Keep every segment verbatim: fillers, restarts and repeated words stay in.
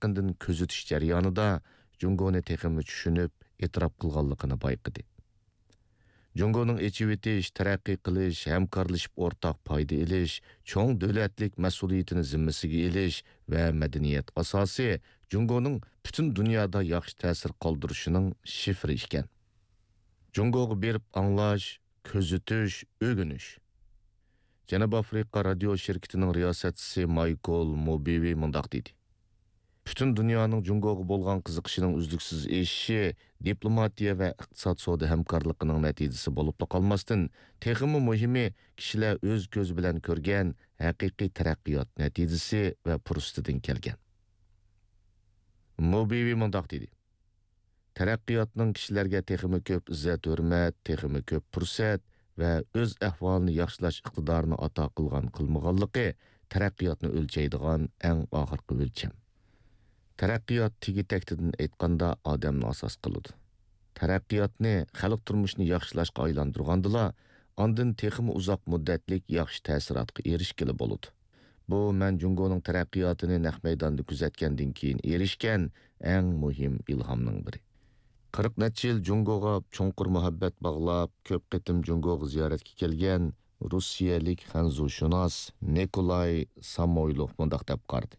يېقىندىن كۆزىتىش جەريانىدا جۇڭگونى تېخىمۇ چۈشىنىپ، ئېتىراپ قىلغانلىقىنى بايقىدى. جۇڭگونىڭ ئېچىۋېتىش، تەرەققىي قىلىش، ھەمكارلىشىپ ئورتاق پايدا ئېلىش، چوڭ دۆلەتلىك مەسئۇلىيىتىنى زىممىسىگە ئېلىش ۋە مەدەنىيەت ئاساسى جۇڭگونىڭ پۈتۈن دۇنيادا ياخشى تەسىر قالدۇرۇشىنىڭ شىفىرى ئىكەن. جۇڭگوغا بېرىپ ئاڭلاش، كۆزىتىش، ئۆگىنىش. جەنۇبىي ئافرىقا رادىيو شىركىتىنىڭ رىياسەتچىسى مايكل موبىۋى مۇنداق دېدى: پۈتۈن دۇنيانىڭ جۇڭگوغا بولغان قىزىقىشىنىڭ ئۈزلۈكسىز ئېشىشى دىپلوماتىيە ۋە ئىقتىساد، سودا ھەمكارلىقىنىڭ نەتىجىسى بولۇپلا قالماستىن، تېخىمۇ مۇھىمى، كىشىلەر ئۆز كۆزى بىلەن كۆرگەن ھەقىقىي تەرەققىيات نەتىجىسى ۋە پۇرسىتىدىن كەلگەن. موبىۋى مۇنداق دېدى: تەرەققىياتنىڭ كىشىلەرگە تېخىمۇ كۆپ ئىززەت-ھۆرمەت، تېخىمۇ كۆپ پۇرسەت ۋە ئۆز ئەھۋالىنى ياخشىلاش ئىقتىدارىنى ئاتا قىلغان، قىلمىغانلىقى تەرەققىياتنى ئۆلچەيدىغان ئەڭ ئاخىرقى ئۆلچەم. تەرەققىيات تېگى-تەكتىدىن ئېيتقاندا ئادەمنى ئاساس قىلىدۇ. تەرەققىياتنى خەلق تۇرمۇشىنى ياخشىلاشقا ئايلاندۇرغاندىلا، ئاندىن تېخىمۇ ئۇزاق مۇددەتلىك ياخشى تەسىراتقا ئېرىشكىلى بولىدۇ. بۇ مەن جۇڭگونىڭ تەرەققىياتىنى نەق مەيداندا كۆزەتكەندىن كېيىن ئېرىشكەن ئەڭ مۇھىم ئىلھامنىڭ بىرى. قىرىق نەچچە يىل جۇڭگوغا چوڭقۇر مۇھەببەت باغلاپ، كۆپ قېتىم جۇڭگوغا زىيارەتكە كەلگەن روسىيەلىك خەنزۇشۇناس نىكولاي سامويلوف مۇنداق دەپ قارىدى: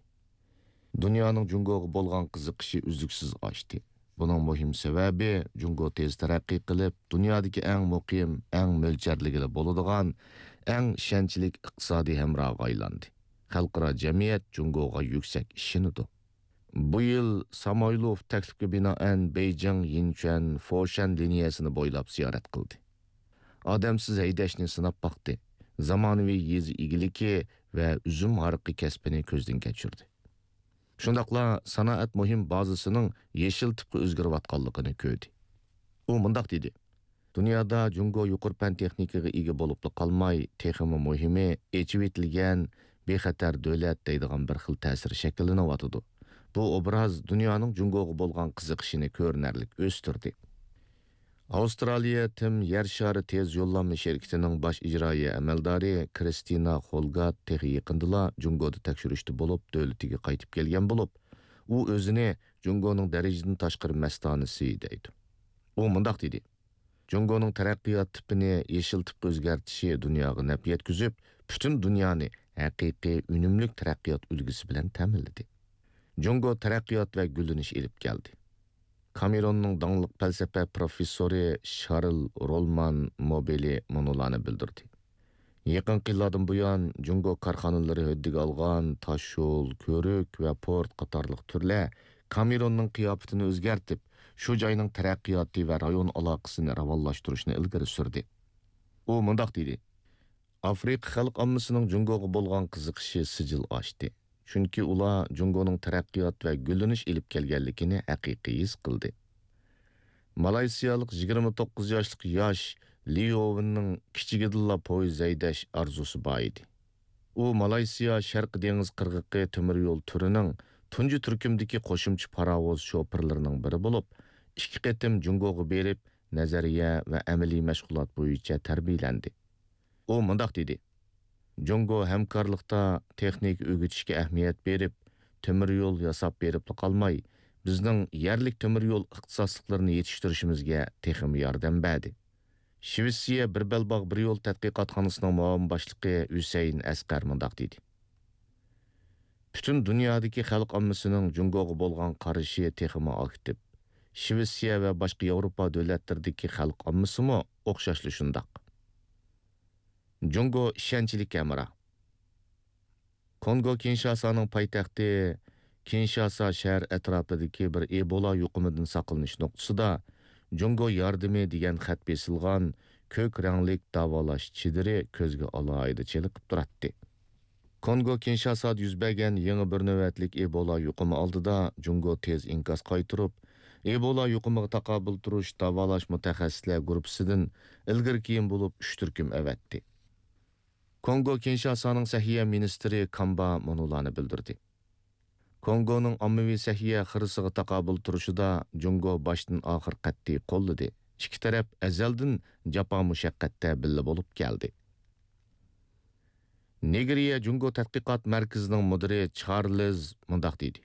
دۇنيانىڭ جۇڭگوغا بولغان قىزىقىشى ئۈزلۈكسىز ئاشتى. بۇنىڭ مۇھىم سەۋەبى، جۇڭگو تېز تەرەققىي قىلىپ، دۇنيادىكى ئەڭ مۇقىم، ئەڭ مۆلچەرلىگىلى بولىدىغان، ئەڭ ئىشەنچلىك ئىقتىسادىي ھەمراھىغا ئايلاندى. خەلقئارا جەمئىيەت جۇڭگوغا يۈكسەك ئىشىنىدۇ. بۇ يىل سامويلوف تەكلىپكە بىنائەن بېيجىڭ، يىنچۈەن، فوشەن لىنىيەسىنى بويلاپ زىيارەت قىلدى. ئادەمسىز ھەيدەشنى سىناپ باقتى. زامانىۋى يېزا ئىگىلىكى ۋە ئۈزۈم ھارىقى كەسپىنى كۆزدىن كەچۈردى. شۇنداقلا سانائەت مۇھىم بازىسىنىڭ يېشىل تىپقا ئۆزگىرىۋاتقانلىقىنى كۆردى. ئۇ مۇنداق دېدى: دۇنيادا جۇڭگو يۇقىرى پەن تېخنىكىغا ئىگە بولۇپلا قالماي، تېخىمۇ مۇھىمى، ئېچىۋېتىلگەن، بىخەتەر دۆلەت دەيدىغان بىر خىل تەسىر شەكىللىنىۋاتىدۇ. بۇ ئوبراز دۇنيانىڭ جۇڭگوغا بولغان قىزىقىشىنى كۆرۈنەرلىك ئۆستۈردى. ئاۋسترالىيە تىم يەر شارى تېز يوللانما شىركىتىنىڭ باش ئىجرائىيە ئەمەلدارى كرىستىنا خولگات تېخى يېقىندىلا جۇڭگودا تەكشۈرۈشتە بولۇپ، دۆلىتىگە قايتىپ كەلگەن بولۇپ، ئۇ ئۆزىنى جۇڭگونىڭ دەرىجىدىن تاشقىرى مەستانىسى دەيدۇ. ئۇ مۇنداق دېدى: جۇڭگونىڭ تەرەققىيات تىپىنى يېشىل تىپقا ئۆزگەرتىشى دۇنياغا نەپ يەتكۈزۈپ، پۈتۈن دۇنيانى ھەقىقىي ئۈنۈملۈك تەرەققىيات ئۈلگىسى بىلەن تەمىنلىدى. جۇڭگو تەرەققىيات ۋە گۈللىنىش ئېلىپ كەلدى. كامېروننىڭ داڭلىق پەلسەپە پروفېسسورى شارل رولمان موبېلى مۇنۇلارنى بىلدۈردى: يېقىنقى يىللاردىن بۇيان، جۇڭگو كارخانىلىرى ھۆددىگە ئالغان تاشيول، كۆۋرۈك ۋە پورت قاتارلىق تۈرلەر كامېروننىڭ قىياپىتىنى ئۆزگەرتىپ، شۇ جاينىڭ تەرەققىياتى ۋە رايون ئالاقىسىنى راۋانلاشتۇرۇشنى ئىلگىرى سۈردى. ئۇ مۇنداق دېدى: ئافرىقا خەلق ئاممىسىنىڭ جۇڭگوغا بولغان قىزىقىشى سىجىل ئاشتى. چۈنكى ئۇلار جۇڭگونىڭ تەرەققىيات ۋە گۈللىنىش ئېلىپ كەلگەنلىكىنى ھەقىقىي ھېس قىلدى. مالايسىيالىق يىگىرمە توققۇز ياشلىق ياش ليۇ ۋېننىڭ كىچىكىدىنلا پويىز ھەيدەش ئارزۇسى بار ئىدى. ئۇ مالايسىيا شەرقىي دېڭىز قىرغىقى تۆمۈر يول تۈرىنىڭ تۇنجى تۈركۈمدىكى قوشۇمچە پاراۋۇز شوپۇرلىرىنىڭ بىرى بولۇپ، ئىككى قېتىم جۇڭگوغا بېرىپ، نەزەرىيە ۋە ئەمەلىي مەشغۇلات بويىچە تەربىيەلەندى. ئۇ مۇنداق دېدى: جۇڭگو ھەمكارلىقتا تېخنىكا ئۆگىتىشكە ئەھمىيەت بېرىپ، تۆمۈر يول ياساپ بېرىپلا قالماي، بىزنىڭ يەرلىك تۆمۈر يول ئىختىساسلىقلىرىنى يېتىشتۈرۈشىمىزگە تېخىمۇ ياردەم بەردى. شىۋېتسىيە بىر بەلباغ بىر يول تەتقىقاتخانىسىنىڭ مۇئاۋىن باشلىقى ھۈسەيىن ئەسقەر مۇنداق دېدى: پۈتۈن دۇنيادىكى خەلق ئاممىسىنىڭ جۇڭگوغا بولغان قارىشى تېخىمۇ ئاكتىپ. شىۋېتسىيە ۋە باشقا ياۋروپا دۆلەتلىرىدىكى خەلق ئاممىسىمۇ ئوخشاشلا شۇنداق. جۇڭگو ئىشەنچلىك ھەمراھ. كونگو كىنشاسانىڭ پايتەختى كىنشاسا شەھەر ئەتراپىدىكى بىر ئېبولا يۇقۇمىدىن ساقلىنىش نۇقتىسىدا جۇڭگو ياردىمى دېگەن خەت بېسىلغان كۆك رەڭلىك داۋالاش چېدىرى كۆزگە ئالاھىدە چېلىقىپ تۇراتتى. كونگو كىنشاسادا يۈز بەرگەن يېڭى بىر نۆۋەتلىك ئېبولا يۇقۇمى ئالدىدا جۇڭگو تېز ئىنكاس قايتۇرۇپ، ئېبولا يۇقۇمىغا تاقابىل تۇرۇش داۋالاش مۇتەخەسسىسلەر گۇرۇپپىسىدىن ئىلگىرى-كېيىن بولۇپ ئۈچ تۈركۈم ئەۋەتتى. كونگو كىنشاسانىڭ سەھىيە مىنىستىرى كامبا مۇنۇلارنى بىلدۈردى: كونگونىڭ ئاممىۋى سەھىيە خىرىسىغا تاقابىل تۇرۇشىدا جۇڭگو باشتىن ئاخىر قەتئىي قوللىدى. ئىككى تەرەپ ئەزەلدىن جاپا مۇشەققەتتە بىللە بولۇپ كەلدى. نېگرىيە جۇڭگو تەتقىقات مەركىزىنىڭ مۇدىرى چارلىز مۇنداق دېدى: